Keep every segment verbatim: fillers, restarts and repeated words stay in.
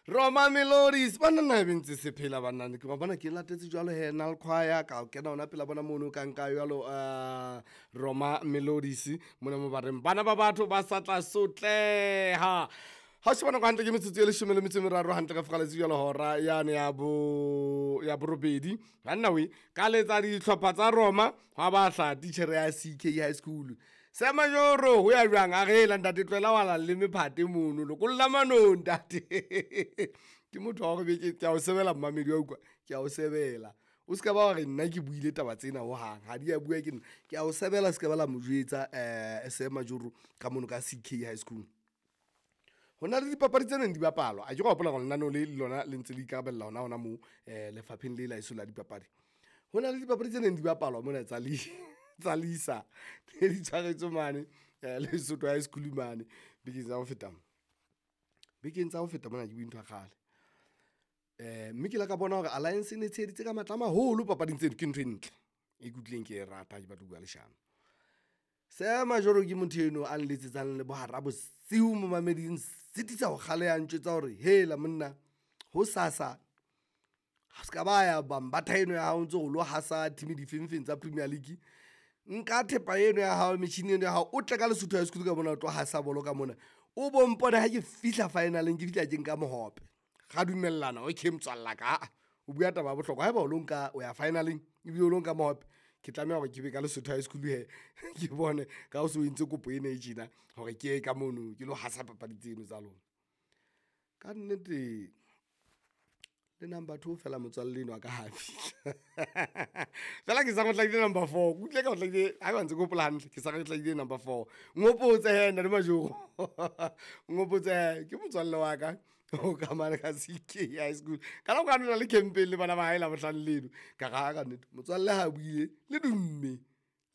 Roma Melodies banna nna ebe ntse se phela banna ke ba bona ke latetse jwalo he nal choir ka kena hona pela bona mono ka nka jwalo uh, Roma Melodies mona mo ba reng bana ba batho ba sa tla sotleha. Ha o sheba nako hantle ke metsotso e leshome le metso e meraro hantle ka fokaletsi jwalo hora yane ya bo ya borobedi. Banna we ka letsa dihlopha tsa Roma hwa ba hla titjhere ya C K High School. Semajoro ho ya jwang a re la ntate tlohela wa la le mephate mono lokolla manong ntate. Ke motho wa hore be ke a o sebela mmamedi wa utlwa, ke a o sebela. O ska ba wa re nna ke buile taba tsena hohang, ha di a bua ke nna. Ke a o sebela se ka ba la mo jwetsa eh Semajoro ka mono ka C K High School. Ho na le dipapadi tse neng di bapalwa, a ke go hopola hore lenaneo le lona le ntse le ikarabella hona hona moo eh lefapheng le la eso la dipapadi. Ho na le dipapadi tse neng di bapalwa mona tsa li tsa Lisa ne di tshwaretswe mane eh Lesotho High School mane bekeng tsa ho feta. Bekeng tsa ho feta mona ke bue ntho ya kgale. Eh mme ke la ka bona hore Alliance e ne tsheheditse ka matla a maholo papading tseno, ke ntho e ntle e ke utlwileng ke e rata ha ke batla ho bua leshano. Semajoro ke motho eno a nletsetsang le bohara bosiu momameding sitisa ho kgaleha ntjwetsa hore hela monna ho sasa ha ska ba ya bambatha eno ya hao ntse o lo hasa team difengfeng tsa Premier League. Nka thepa eno ya hao metjhini eno ya hao o tle ka Lesotho High School ka mona o tlo hasa bolo ka mona. O bo mpone ha ke fihla finaleng ke fihla ke nka mohope. Ra dumellana okay motswalla ka a o bua taba ya bohlokwa haeba o lo nka o ya finaleng ebile o lo nka mohope. Ke tlameha hore ke be ka Lesotho High School he ke bone ka o so entse kopo ena e tjena hore ke ye ka mono ke lo hasa papadi tseno tsa lona. Ka nnete le number two fela motswalle eno a ka ha fihla. Fela ke sa go hlahile number four. Ke utlwile ka ho hlahile ha ba ntse ke hopola hantle ke sa go hlahile number four. Nghopotse he nna le Majoro. Nghopotse he ke motswalle wa ka o ka mane ka C K High School. Ka nako ya nna le campaign le bana ba hae la bohlano leno. Ka ra ka nnete motswalle ha buile le dumme.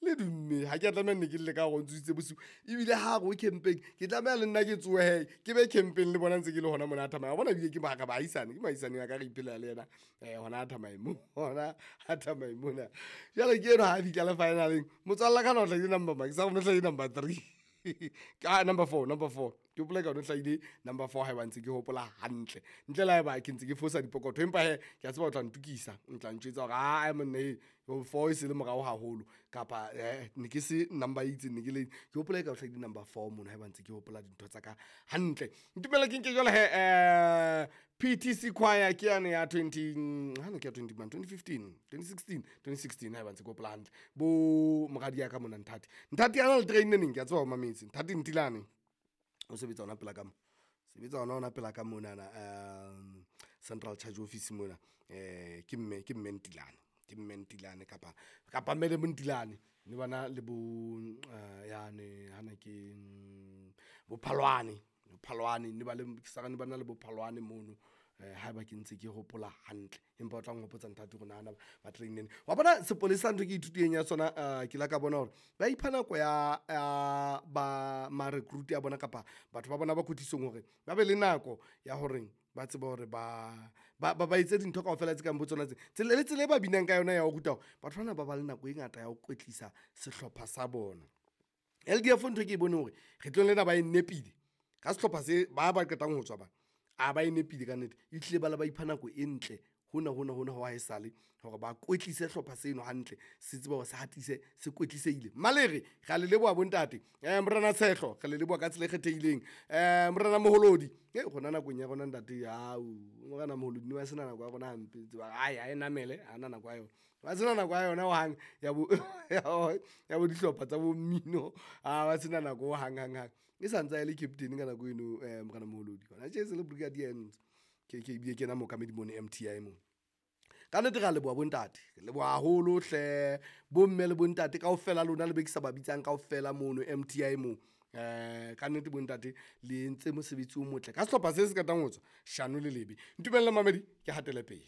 Le dumme ha ke a tlameha nne ke lle ka hore o ntsositse bosiu. Ebile ha re o campaign ke tlameha le nna ke tsohe he ke be campaign le bona ntse ke le hona mona a thamaya. Wa bona ebile ke ba baahisane, ke moahisane wa ka re iphelela le yena eh hona a thamaya mo hona a thamaya mona. Jwale ke eno ha fihla le finaleng motswalle ka na o hlahile number mang? Ke sa go hlahile number three. Ka number four, number four. Ke hopola ka o hlahile number four haeba ntse ke hopola hantle. Ntle le haeba ke ntse ke fosa dipokotho empa he ke a tseba o tla ntukisa, o tla ntjwetsa hore a monna e four e se le morao haholo kapa eh ne ke se number e itseng ne ke le ke hopola ka o hlahile number four mono haeba ntse ke hopola dintho tsa ka hantle. Ntumella ke nke jwale he eh P T C choir ke yane ya twenty ha ne ke ya twenty man twenty fifteen, twenty sixteen, twenty sixteen haeba ntse ke hopola hantle. Bo moradi ya ka mona Nthati. Nthati ana le train neng ke a tseba o mametse. Nthati Ntilane o sebetsa hona pela ka mo. Sebetsa hona hona pela ka monana um Central Charge Office mona. Eh ke mme ke mme Ntilane. Ke mme Ntilane kapa kapa mme le Ntilane. Ne bana le bo yane hana ke bo Phalwane. Phalwane ne ba le ke sa ne bana le bo Phalwane mono. Eh haeba ke ntse ke hopola hantle empa o tla nghopotsa Nthati hore nahana ba traineng. Wa bona sepolesa ntho ke ithutileng ya sona ke la ka bona hore ba ipha nako ya ba ma recruit ya bona kapa batho ba bona ba kwetlisong hore ba be le nako ya hore ba tsebe hore ba ba ba etse dintho kaofela tse kang bo tsona tse. Tsela le tsela e ba binang ka yona ya ho ruta hore batho bana ba ba le nako e ngata ya ho kwetlisa sehlopha sa bona. L D F ntho ke e bone hore kgetlong lena ba e nepile ka sehlopha se ba ba qetang ho tswa ba a ba e nepile ka nnete. E hlile ba le ba ipha nako e ntle hona hona hona ho haesale hore ba kwetlise hlopha seno hantle se tsebe hore se hatise se kwetlisehile. Malere re a le leboha bontate. Eh Morena Tshehlo re le leboha ka tsela e kgethehileng. Eh Morena Moholodi e rona nakong ya rona ntate au Morena Moholodi ne ba sena nako ya rona hampe tseba ai a e namele ha na nako ya yona. Ba sena nako ya yona hohang ya bo ya bo dihlopha tsa bo mmino a ba sena nako hang hang hang. E sa ntse e le captain ka nako eno eh Morena Moholodi. Hona tje se le brigadier ntse. Ke ke ebile ke yena mookamedi mono M T I mono. Ka nnete re a leboha bontate, re leboha haholo hle bomme le bontate kaofela lona le be ke sa ba bitsang kaofela mono M T I mo. Eh ka nnete bontate le entse mosebetsi o motle ka sehlopha se se qetang ho tswa shano le lebe. Ntumelle mamedi ke hatele pele.